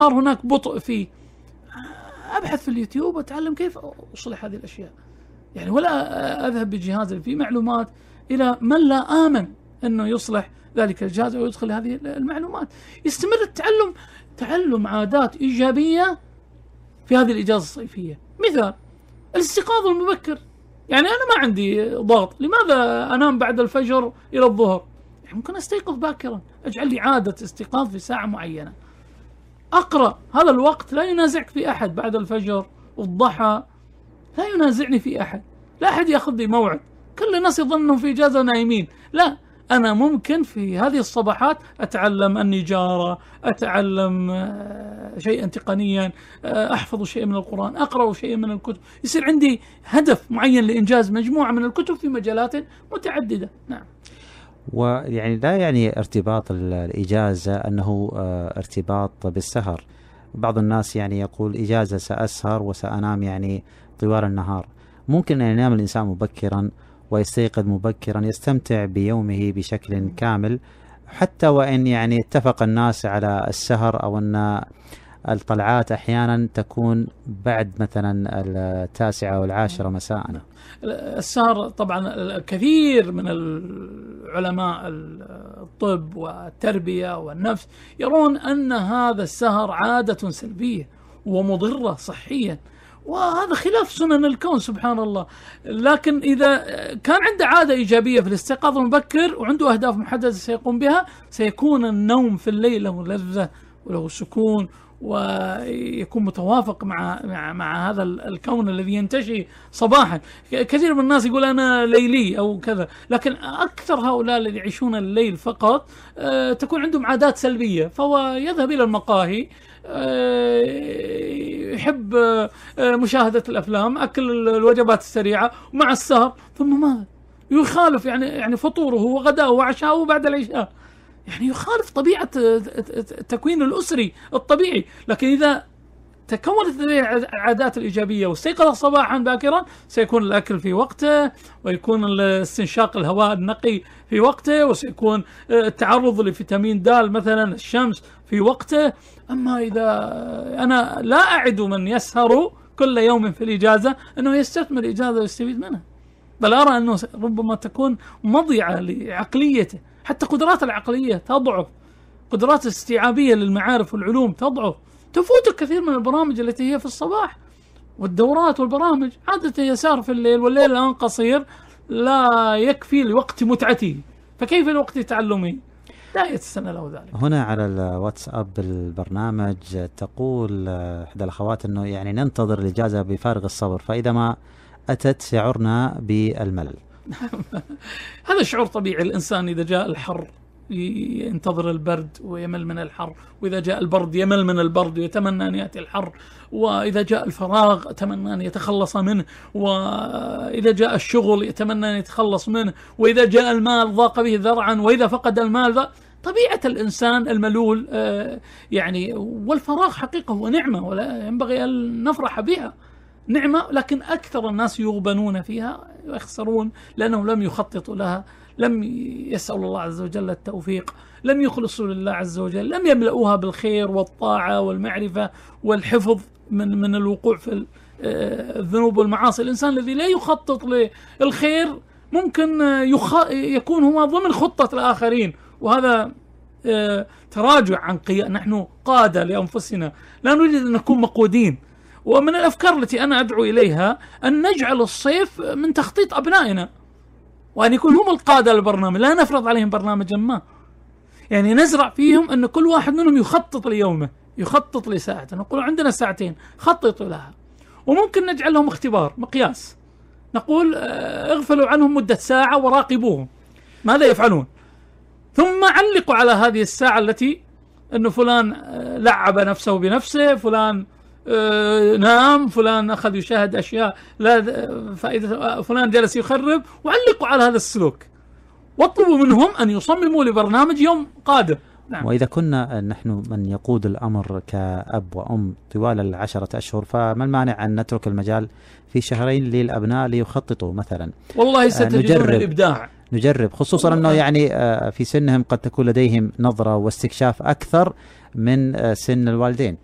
هناك بطء فيه، أبحث في اليوتيوب وأتعلم كيف أصلح هذه الأشياء يعني، ولا أذهب بجهاز فيه معلومات إلى من لا آمن أنه يصلح ذلك الجهاز ويدخل هذه المعلومات. يستمر التعلم، تعلم عادات إيجابية في هذه الإجازة الصيفية. مثال الاستيقاظ المبكر، يعني أنا ما عندي ضغط، لماذا أنام بعد الفجر إلى الظهر؟ يعني ممكن أستيقظ باكرا، أجعل لي عادة استيقاظ في ساعة معينة، أقرأ. هذا الوقت لا ينازعك في أحد، بعد الفجر والضحى لا ينازعني في أحد، لا أحد يأخذ لي موعد، كل الناس يظنهم في إجازة نايمين. لا، أنا ممكن في هذه الصباحات أتعلم النجارة، أتعلم شيئا تقنيا، أحفظ شيء من القرآن، أقرأ شيء من الكتب، يصير عندي هدف معين لإنجاز مجموعة من الكتب في مجالات متعددة. نعم. ويعني لا يعني ارتباط الإجازة أنه ارتباط بالسهر. بعض الناس يعني يقول إجازة سأسهر وسأنام يعني طوال النهار. ممكن أن ينام الإنسان مبكرا ويستيقظ مبكرا، يستمتع بيومه بشكل كامل، حتى وإن يعني اتفق الناس على السهر أو أن الطلعات أحيانا تكون بعد مثلا 9 أو 10 مساء. السهر طبعا كثير من العلماء الطب والتربية والنفس يرون أن هذا السهر عادة سلبية ومضرة صحيا، وهذا خلاف سنن الكون سبحان الله. لكن إذا كان عنده عادة إيجابية في الاستيقاظ المبكر وعنده أهداف محددة سيقوم بها، سيكون النوم في الليل له لذة وله سكون، ويكون متوافق مع هذا الكون الذي ينتشي صباحا. كثير من الناس يقول أنا ليلي أو كذا، لكن أكثر هؤلاء الذين يعيشون الليل فقط تكون عندهم عادات سلبية، فهو يذهب إلى المقاهي، يحب مشاهدة الأفلام، أكل الوجبات السريعة مع السهر، ثم ماذا؟ يخالف يعني فطوره وغداءه وعشاءه بعد العشاء، يعني يخالف طبيعة التكوين الأسري الطبيعي. لكن إذا تكونت العادات الإيجابية واستيقظ صباحا باكرا، سيكون الأكل في وقته، ويكون استنشاق الهواء النقي في وقته، وسيكون التعرض لفيتامين د مثلا الشمس في وقته. أما إذا أنا لا أعد من يسهر كل يوم في الإجازة أنه يستثمر الإجازة ويستفيد منها، بل أرى أنه ربما تكون مضيعة لعقليته، حتى قدرات العقلية تضعف، قدرات الاستيعابية للمعارف والعلوم تضعف، تفوت كثير من البرامج التي هي في الصباح، والدورات والبرامج عادة يسار في الليل، والليل الآن قصير لا يكفي لوقت متعته، فكيف لوقت تعلمه؟ لا يتسنى له ذلك. هنا على الواتساب البرنامج تقول إحدى الأخوات أنه يعني ننتظر الإجازة بفارغ الصبر، فإذا ما أتت شعرنا بالملل. هذا شعور طبيعي. الإنسان إذا جاء الحر ينتظر البرد ويمل من الحر، وإذا جاء البرد يمل من البرد ويتمنى أن يأتي الحر، وإذا جاء الفراغ يتمنى أن يتخلص منه، وإذا جاء الشغل يتمنى أن يتخلص منه، وإذا جاء المال ضاق به ذرعا، وإذا فقد المال طبيعة الإنسان الملول يعني. والفراغ حقيقة هو نعمة ولا ينبغي أن نفرح بها، نعمة، لكن أكثر الناس يغبنون فيها ويخسرون لأنهم لم يخططوا لها، لم يسألوا الله عز وجل التوفيق، لم يخلصوا لله عز وجل، لم يملؤوها بالخير والطاعة والمعرفة والحفظ من الوقوع في الذنوب والمعاصي. الإنسان الذي لا يخطط للخير ممكن يكون هو ضمن خطة الآخرين، وهذا تراجع عن نحن قادة لأنفسنا، لا نريد أن نكون مقودين. ومن الأفكار التي أنا أدعو إليها أن نجعل الصيف من تخطيط أبنائنا، وأن يكون هم القادة للبرنامج، لا نفرض عليهم برنامجا ما، يعني نزرع فيهم أن كل واحد منهم يخطط ليومه، يخطط لساعته، نقول عندنا ساعتين خططوا لها، وممكن نجعل لهم اختبار مقياس، نقول اغفلوا عنهم مدة ساعة وراقبوهم ماذا يفعلون، ثم علقوا على هذه الساعة التي أنه فلان لعب نفسه بنفسه، فلان نام، فلان أخذ يشاهد أشياء لا فائدة، فلان جلس يخرب، وعلقوا على هذا السلوك، واطلبوا منهم أن يصمموا لبرنامج يوم قادم. نعم. وإذا كنا نحن من يقود الأمر كأب وأم طوال 10 أشهر، فما المانع أن نترك المجال في شهرين للأبناء ليخططوا مثلا؟ والله ستجدون الإبداع. نجرب، خصوصا أنه يعني في سنهم قد تكون لديهم نظرة واستكشاف أكثر من سن الوالدين.